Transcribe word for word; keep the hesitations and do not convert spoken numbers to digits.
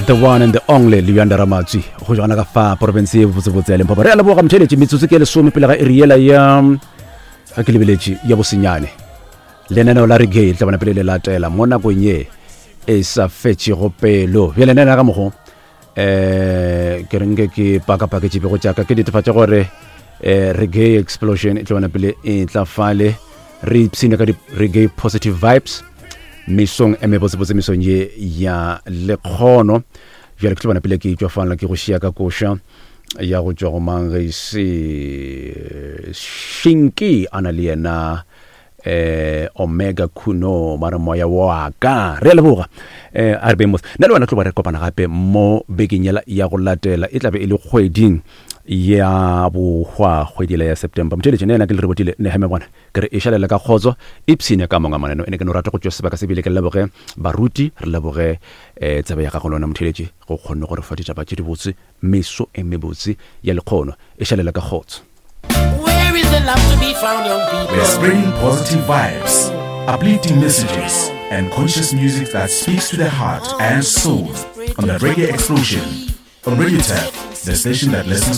The one and the only Luyanda Ramatswi go jona ka fa province ye botsebotse ya Limpopo. Re a leboga motheeletši, metsotso ke lesome pele ga iri yela ya ga ke lebeletše ya bosenyane. Lenaneo la reggae le tla bona pele le latela mo nakong ye e sa fetšego pelo. Bjale nna ka mokgo eh ke re nke ke pakapaketše pego tšaka ke netefatše gore eh reggae explosion e tla bona pele e tla fale re ipshine ka di reggae positive vibes mesong e mebotsebotse mesong ye ya lekgono. Bjale ke tlo bona pele ke tšwa fala ke go šia ka koša ya go tšwa go mang ge se Shinki a na le yena eh Omega Kuno ba re moya wa ka. Re a leboga eh a re beng mos nna le wena tlo ba re kopana gape mo bekeng yela ya go latela, e tlabe e le kgweding ya bohwa, kgwedi yela ya September. Motheeletši nna yena ke le rebotile Nehemia bona ke re e šalele ka kgotso, ipshine ka monga maneno. Ene ke no rata go tšwa sebaka se bile ke leboge baruti, re leboge eh tsebe ya gago le wena motheeletši go kgonne go re fa ditaba tše dibotse meso e mebotse ya lekgono. E šalele ka kgotso. Where is the love to be found, young people? We're spreading positive vibes, uplifting messages, and conscious music that speaks to the heart and soul on the Reggae Explosion on Radio Tap, the station that listens